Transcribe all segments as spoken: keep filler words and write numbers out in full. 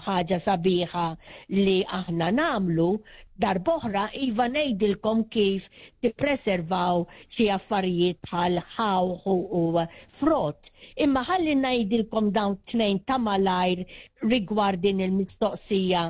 Ħaġa sabiħa li aħna nagħmlu darb'oħra, iva, ngħidilkom kif tippreservaw xi affarijiet bħal ħawħ u frott. Imma ħalli ngħidilkom dawn tnejn ta' malajr rigward din il-mistoqsija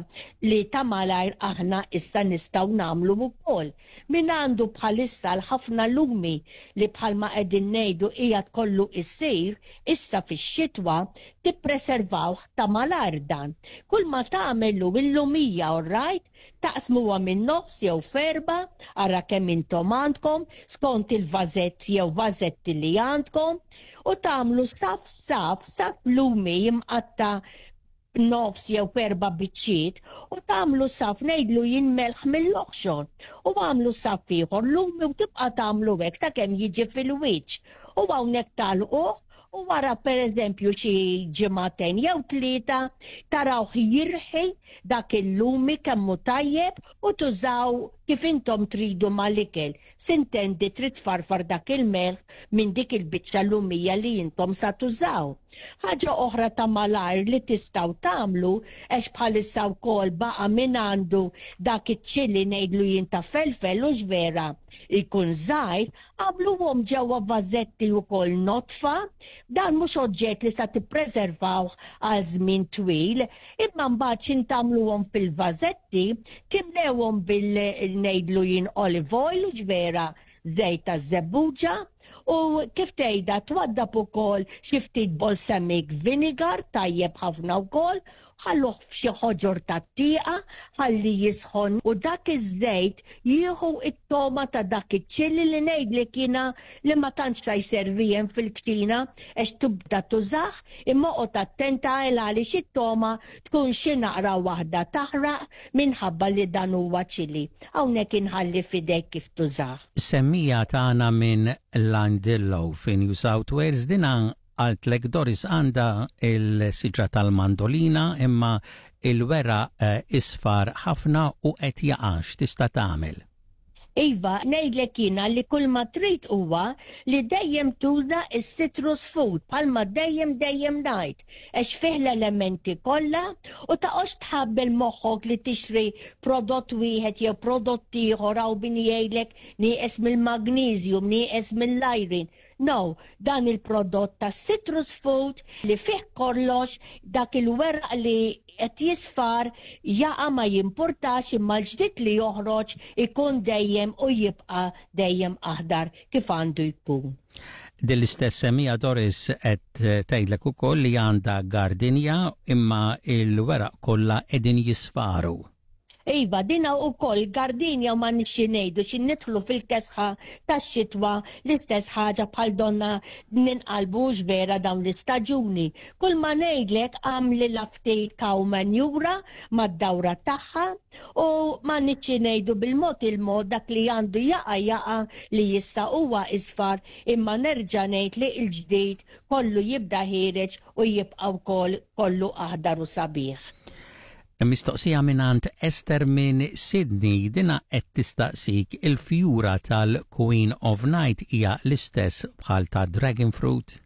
li ta' malajr aħna issa nistgħu nagħmlu wkoll. Min għandu bħalissa l-ħafna lumi li bħalma qegħdin ngħidu qiegħed kollu issir, issa fix-xitwa tippreservawh ta' malajr dan. Kull ma tagħmlu il-lumija, all right, taqsmuha minn nofs jew f'erbgħa, ara kemm intom għandkom, skont il-vażett jew vażetti li għandkom, u tagħmlu saf saf, saf lumi jimqatta nofs jew erba' biċċiet u tagħmlu saf, ngħidlu jien, melħ mill-oħxon u għamlu saf ieħor lumi u tibqa' tagħmlu hekk sakemm jiġi fil-wiċċ. U hawnhekk tagħlquh u wara, pereżempju, xi ġimagħtejn jew tlieta tarawh jirħi dak il-lumi kemmu tajjeb u tużaw kif intom tridu mal-ikel. S'intendi trid farfar dak il-melħ minn dik il-biċċa lumija li intom sa tużaw. Ħaġa oħra ta' malajr li tistgħu tagħmlu, għax bħalissa wkoll baqa' min għandu dak iċ-ċili, ngħidlu jien, ta' felfel u vera jkun żgħir, għamluhom ġewwa vażetti wkoll nodfa. Dan mhux oġġett li sa tippreservawh għal żmien twil, imma mbagħad x'ħin tagħmluhom fil-vażetti, timlewhom bil, ngħidlu jien, olive oil u ġvera żejt ta' żebbuġa u kif tgħidha twaddab ukoll xi ftit balsamic vinegar, tajjeb ħafna wkoll, ħalluh f'xi ħoġor tat-tieqa ħalli jisħon u dak iż-żejt jieħu it-toma ta' dak iċ-ċilli li ngħidlek jiena li ma tantx sa jservi fil-kċina għax tibda tużah, imma oqgħod attenta għal għaliex it-toma tkun xi naqra waħda taħraq minħabba li dan huwa ċili. Hawnhekk inħalli f'idejk kif tużah. Semmiegħa tagħna minn Llandilo fi New South Wales, dina qaltlek, Doris, għandha il-siġra tal-mandolina imma il-weraq eh, isfar ħafna u qed jaqa'. X'tista' tagħmel? Iva, ngħidlek jiena li kull ma trid huwa li dejjem tuża is-citrus food, bħalma dejjem dejjem ngħid, għax fih l-elementi kollha u taqgħodx tħabbel moħħok li tixtri prodott wieħed jew prodott ieħor hawn min jgħidlek nieqes mill-magnesium, nieqes mill-iron. No, dan il-prodott ta' citrus food li fih kollox, dak il-weraq li qed jisfar jaqa' ma jimpurtax, imma l-ġdid li joħroġ ikun dejjem u jibqa' dejjem aħdar kif għandu jkun. Din l-istess semmiegħa, Doris, qed tgħidlek ukoll li għandha gardinja imma il-weraq kollha qegħdin jisfaru. Iva, dina ukoll gardinja u ma nixxi ngħidu xi nidħlu fil-kesħa tax-xitwa, l-istess ħaġa bħal donna ninqalbu vera dawn l-istaġuni. Kull ma ngħidlek, għamli ftit cow manure mad-dawra tagħha u ma nixxi ngħidu bil-mod il-mod dak li għandu jaqa' jaqa' li jissa huwa isfar, imma nerġa' ngħid li l-ġdid kollu jibda ħiereġ u jibqa' wkoll kollu aħdar u sabiħ. Mistoqsija mingħand Esther minn Sydney, dina qed tistaqsik, il-fjura tal-Queen of Night hija l-istess bħal ta' Dragon Fruit?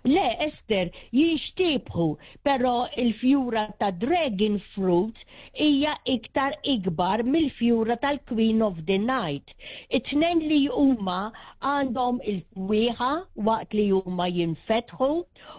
Le, Esther, jixtiebħu, pero il-fjura ta' Dragon Fruit hija iktar ikbar mill-fjura tal-Queen of the Night. It-tnejn li huma għandhom il-fwieħa waqt li huma jinfetħu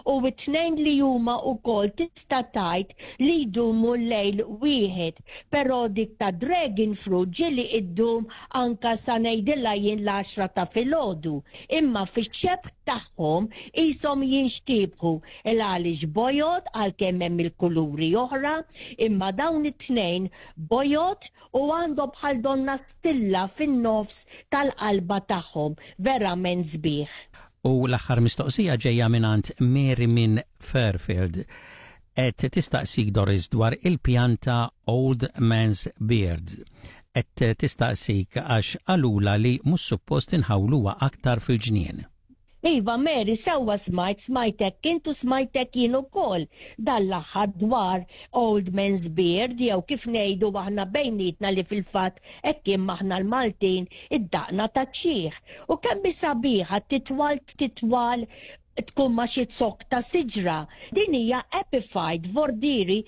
u it-tnejn li huma wkoll tista' tgħid li jdumu lejl wieħed, pero dik ta' Dragon Fruit ġieli iddum anka sa ngħidilha jien l-għaxra ta' filgħodu. Imma fix-xebh tagħhom qishom jinxtiebħu il għaliex bojod, għalkemm hemm il-kuluri oħra, imma dawn it-tnejn bojod u għandhom bħal donna stilla fin-nofs tal-qalba tagħhom, verament sbieħ. U l-aħħar mistoqsija ġejja mingħand Mary minn Fairfield. Qed tistaqsik, Doris, dwar il-pjanta Old Man's Beard. Qed tistaqsik għax qalulha li mhux suppost inħawluha aktar fil-ġnien. Iva, Mary, sewwa smajt, smajtek intu, smajtek jien ukoll dal-aħħar dwar Old Man's Beard jew kif ngħidu aħna bejnietna, li fil-fatt hekk aħna l-Maltin, id-daqna ta' xiħ. U kemm sabiħa titwal titwal tkun ma xi zokk ta' siġra. Din hija epiphyte, vordiri.